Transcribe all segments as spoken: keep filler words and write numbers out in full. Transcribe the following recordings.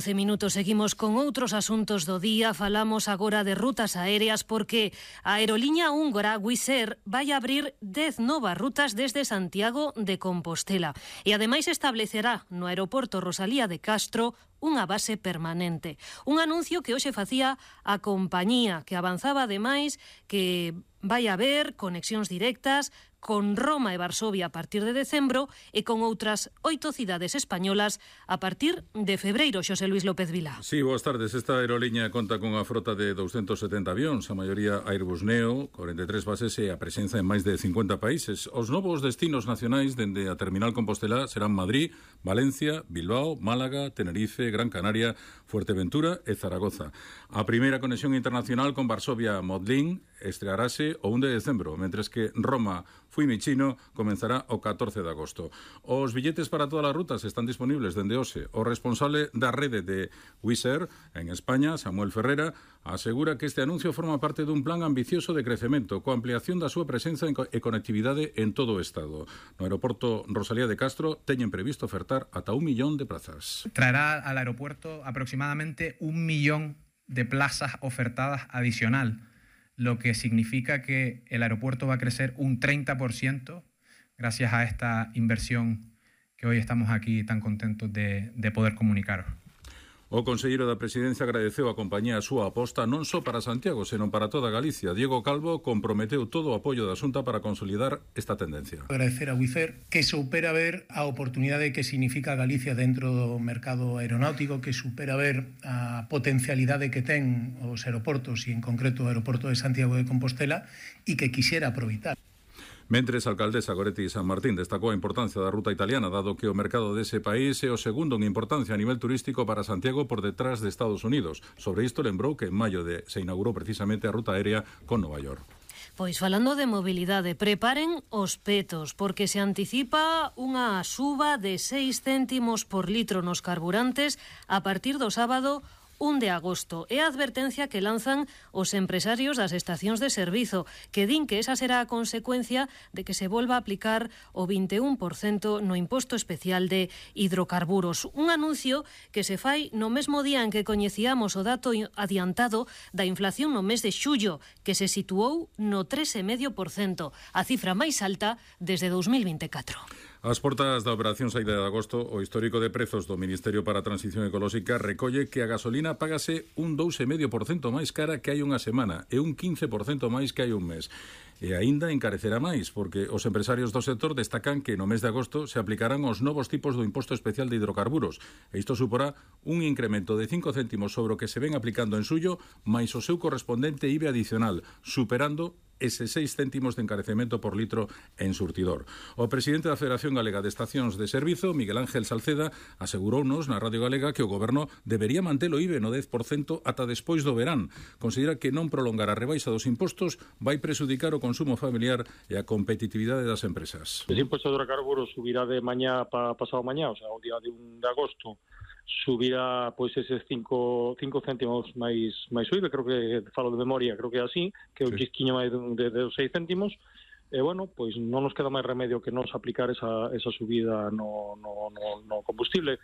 once minutos, seguimos con outros asuntos do día. Falamos agora de rutas aéreas porque a aeroliña húngara Wizz Air vai abrir dez novas rutas desde Santiago de Compostela e ademais establecerá no aeroporto Rosalía de Castro unha base permanente. Un anuncio que hoxe facía a compañía, que avanzaba ademais que vai haber conexións directas con Roma e Varsovia a partir de decembro e con outras oito cidades españolas a partir de febreiro. Xosé Luis López Vilá. Sí, boas tardes. Esta aeroliña conta con a frota de doscientos setenta avións, a maioría Airbus Neo, corenta e tres bases e a presenza en máis de cincuenta países. Os novos destinos nacionais dende a terminal Compostela serán Madrid, Valencia, Bilbao, Málaga, Tenerife, Gran Canaria, Fuerteventura e Zaragoza. A primeira conexión internacional con Varsovia Modlin estrearase o un de decembro, mentres que Roma Fiumicino comenzará o catorce de agosto. Os billetes para todas as rutas están disponibles dende hoxe. O responsable da rede de Wizz Air en España, Samuel Ferrera, asegura que este anuncio forma parte dun plan ambicioso de crecemento coa ampliación da súa presenza e conectividade en todo o Estado. No aeroporto Rosalía de Castro teñen previsto ofertar ata un millón de plazas. Traerá al aeropuerto aproximadamente un millón de plazas ofertadas adicional, lo que significa que el aeropuerto va a crecer un treinta por ciento gracias a esta inversión que hoy estamos aquí tan contentos de, de poder comunicaros. O conselleiro da Presidencia agradeceu a compañía a súa aposta non só para Santiago, senón para toda Galicia. Diego Calvo comprometeu todo o apoio da Xunta para consolidar esta tendencia. Agradecer a Wizz Air que supera ver a oportunidade que significa Galicia dentro do mercado aeronáutico, que supera ver a potencialidade que ten os aeroportos e en concreto o aeroporto de Santiago de Compostela e que quixera aproveitar. Mentres, a alcaldesa Goretti San Martín destacou a importancia da ruta italiana, dado que o mercado dese país é o segundo en importancia a nivel turístico para Santiago por detrás de Estados Unidos. Sobre isto lembrou que en maio de, se inaugurou precisamente a ruta aérea con Nova York. Pois falando de mobilidade, preparen os petos, porque se anticipa unha suba de seis céntimos por litro nos carburantes a partir do sábado un de agosto. É a advertencia que lanzan os empresarios das estacións de servizo, que din que esa será a consecuencia de que se volva a aplicar o vinte e un por cento no imposto especial de hidrocarburos. Un anuncio que se fai no mesmo día en que coñecíamos o dato adiantado da inflación no mes de xullo, que se situou no tres vírgula cinco por cento, a cifra máis alta desde dous mil vinte e catro. As portas da operación saída de agosto, o histórico de prezos do Ministerio para a Transición Ecolóxica recolle que a gasolina págase un dous vírgula cinco por cento máis cara que hai unha semana e un quince por cento máis que hai un mes. E aínda encarecerá máis, porque os empresarios do sector destacan que no mes de agosto se aplicarán os novos tipos do imposto especial de hidrocarburos. E isto suporá un incremento de cinco céntimos sobre o que se ven aplicando en suyo, máis o seu correspondente I V A adicional, superando ese seis céntimos de encarecemento por litro en surtidor. O presidente da Federación Galega de Estacións de Servizo, Miguel Ángel Salceda, asegurounos na Radio Galega que o Goberno debería manter o I V A no dez por cento ata despois do verán. Considera que non prolongar a rebaixa dos impostos vai presudicar o consumo familiar e a competitividade das empresas. El imposto de hidrocarburos subirá de mañá para pasado mañá, o sea, o día de un de agosto, subirá pois eses cinco céntimos máis máis o I V A, creo que falo de memoria, creo que é así, que é un chisquiño máis de, de, de seis céntimos. E bueno, pois non nos queda máis remedio que nos aplicar esa, esa subida no, no, no, no combustible.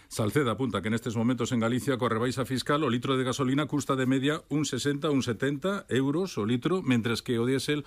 Salceda apunta que nestes momentos en Galicia coa rebaixa fiscal o litro de gasolina custa de media un sesenta, un setenta euros o litro, mentres que o diésel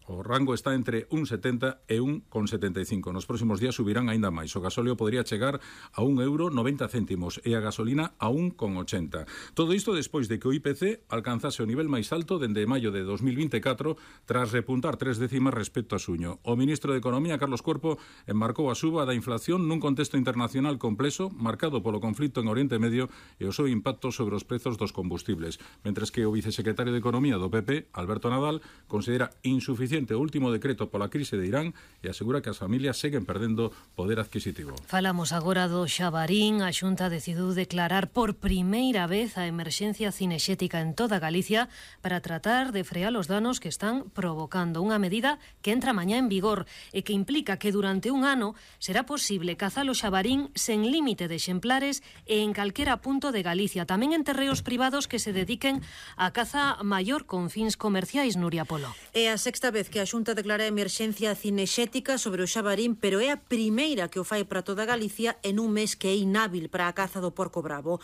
o rango está entre un setenta e un setenta e cinco. Nos próximos días subirán aínda máis. O gasóleo podría chegar a un euro noventa céntimos e a gasolina a un ochenta. Todo isto despois de que o I P C alcanzase o nivel máis alto dende maio de dos mil vinte e catro tras repuntar tres décimas respecto a suño. O ministro de Economía, Carlos Cuerpo, enmarcou a suba da inflación nun contexto internacional complexo marcado polo conflito en Oriente Medio e o seu impacto sobre os prezos dos combustibles, mentres que o vicesecretario de Economía do P P, Alberto Nadal, considera insuficiente o último decreto pola crise de Irán e asegura que as familias seguen perdendo poder adquisitivo. Falamos agora do Xabarín. A Xunta decidiu declarar por primeira vez a emerxencia cinexética en toda Galicia para tratar de frear os danos que están provocando. Unha medida que entra mañá en vigor e que implica que durante un ano será posible cazar o xabarín sen límite de exemplares e en calquera punto de Galicia, tamén en terreos privados que se dediquen a caza maior con fins comerciais. Nuria Polo. É a sexta vez que a Xunta declara emerxencia cinexética sobre o xabarín, pero é a primeira que o fai para toda Galicia en un mes que é inhábil para a caza do porco bravo.